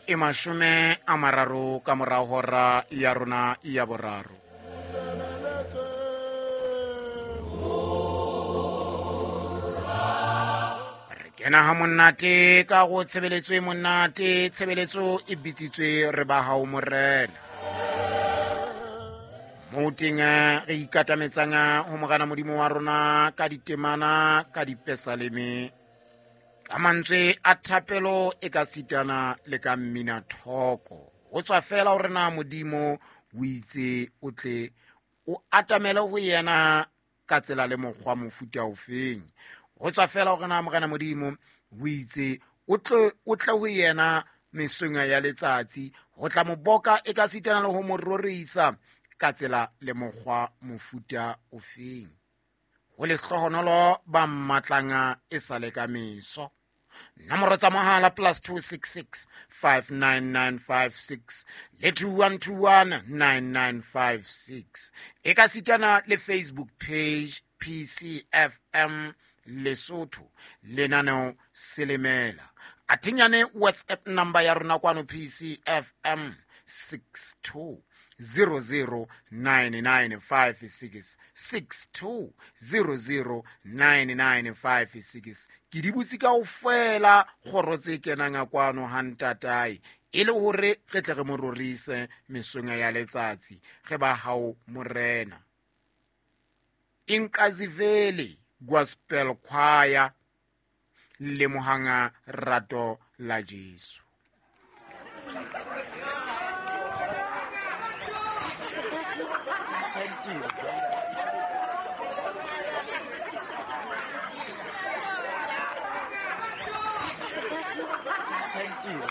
E 30 ka mora hora ya rona ya boraro. Re kena ha monate ka go tshebeletso e monate, tshebeletso e bitsitswe re ba hao morena. Mo teng re ikatametsang ho morena modimo wa rona ka ditemana ka dipesaleme, ka mantswe a thapelo e ka sitana le ka mmina thoko. Ho tswa fela hore na modimo o itse o tle o atamele ho yena ka tsela le mokgwa mofuta ofeng. Ho tswa fela hore na morena modimo o itse o tle ho yena mesong ya letsatsi, ho tla mo boka e ka sitana le ho mo rorisa ka tsela le mokgwa mofuta ofeng. Ho lehlohonolo ba mmatlanga e sale ka meso. Nomoro tsa mohala +266 59956 le 2121 9956. E ka sitana le Facebook page PCFM Lesotho lenaneo Selemela. Athinyane WhatsApp number ya rona kwano PCFM 62 009956 62009956. Ke di butse kaofela kgoro tse kenang kwano ha ntatae, e le hore re tle re mo rorise mesong ya letsatsi. Re ba hao morena. Inkazivele Gospel Choir, lemohanga rato la Jesu. Thank you.